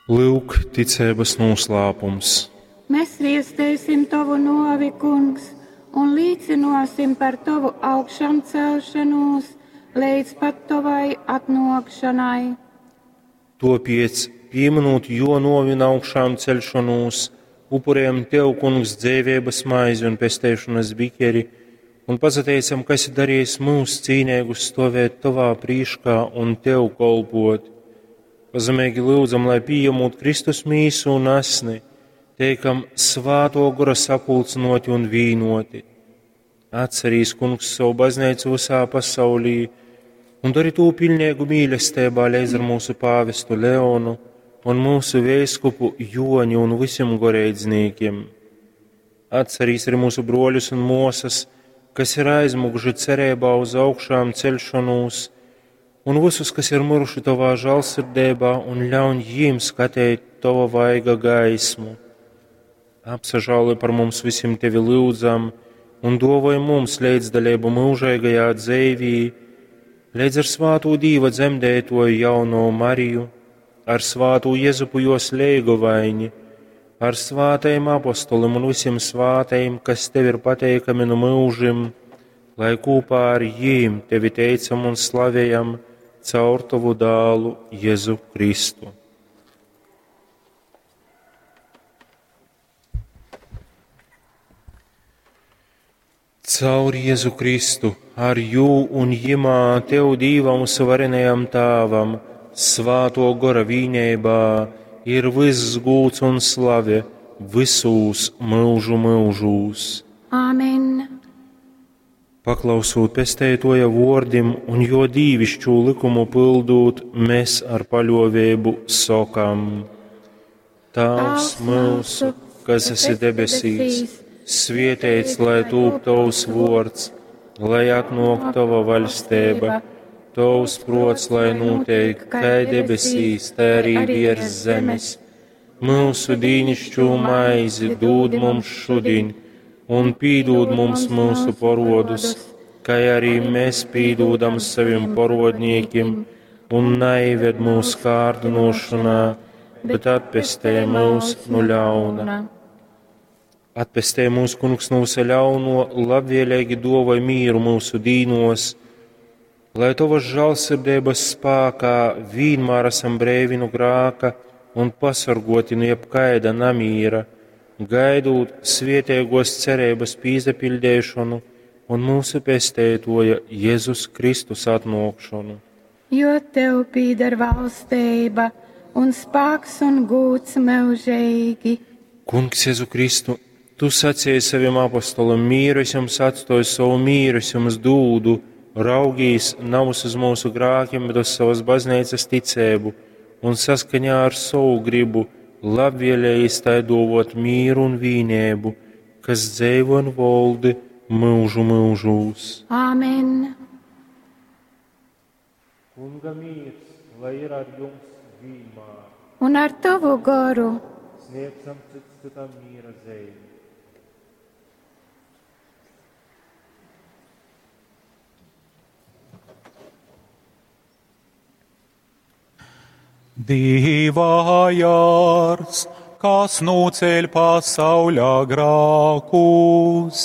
Lyuk, ticeibas nūslāpums. Mēs viesteisim tovu nōvi, Kungs, un līcynōsim par tovu augšamcelšanūs leidz pat tovai atnōkšanai. Tōpēc, pīmynūt jō nōvi un augšāmceļšonūs, upurējam tev, Kungs, dzeiveibas maizi un pesteišonas bikeri, un pasateicam, ka esi darījis mūs cīneigus stovēt tovā prīškā un tev kolpot. Pazemeigi lyudzam, lai pījemūt Kristus mīsu un asni, teikam svātō gora sapulcynōti un vīnoti. Atcerīs, Kungs, savu baznīcu visā pasaulī un dari tū pilnīgu mīlestībā līdz ar mūsu pāvestu Leonu un mūsu veiskupu Joni un visiem goreidznīkiem. Atcerīs arī mūsu broļus un mosas, kas ir aizmuguši cerībā uz augšām celšanos, un visus, kas ir miruši tavā žēlsirdībā, un ļauj jiem skatīt tava vaiga gaismu. Apsažāloj par mums visiem tevi lūdzam, un dovoj mums līdzdalību mūžīgajā dzīvī, līdz ar svāto Dīva dzemdētoju jauno Mariju, ar svāto Jezupu jos leigovaini, ar svātajiem apostolim un visiem svātajiem, kas tev ir pateikami no mūžim, lai kopā ar jīm tevi teicam un slavējam caur tavu dālu Jēzu Kristu. Caur Jēzu Kristu, ar jū un jimā tev Dīvam varenajam Tāvam, svāto gora vīnībā, ir viss gūts un slave visūs mūžu mūžūs. Āmen. Paklausūt pestētoja vordim un jo dīvišķū likumu pildūt, mēs ar paļovēbu sokam. Tēvs mūsu, kas esi debesīs, svietēts, lai tūp tavs vords, lai atnok tava vaļstība, tavs prots, lai notiek, kā debesīs, tā arī virs zemes. Mūsu dīnišķo maizi dod mums šodien, un pīdod mums mūsu porodus, kā arī mēs pīdodam saviem porodniekiem, un neived mūsu kārdinošanā, bet atpestē mūs no ļauna. Atpestē mūsu kungs no visa ļauno, labvēlīgi dovoj mīru mūsu dīnos, lai tavas žēlsirdības spēkā vienmēr esam brēvi no grāka un pasargoti no jebkaida namīra, gaidot svietēgos cerības pīzapildēšanu un mūsu pestētoja Jēzus Kristus atnākšanu. Jo tev pīdar valstība un spēks un gūts mūžīgi. Kungs Jēzu Kristu, tu sacīji saviem apostolim, mīru es jums atstoju, savu mīru es jums dūdu, raugīs nav uz mūsu grākiem, bet uz savas baznīcas ticēbu un saskaņā ar savu gribu labvēlējis tai dovot mīru un vīnēbu, kas dzēvo un voldi mūžu mūžūs. Āmen. Kunga mīrs, lai ir ar jums vienmēr. Un ar tavu goru. Sniedzam cits citam mīra zīmi. Dīva jārs, kas nūceļ pasauļā grākus,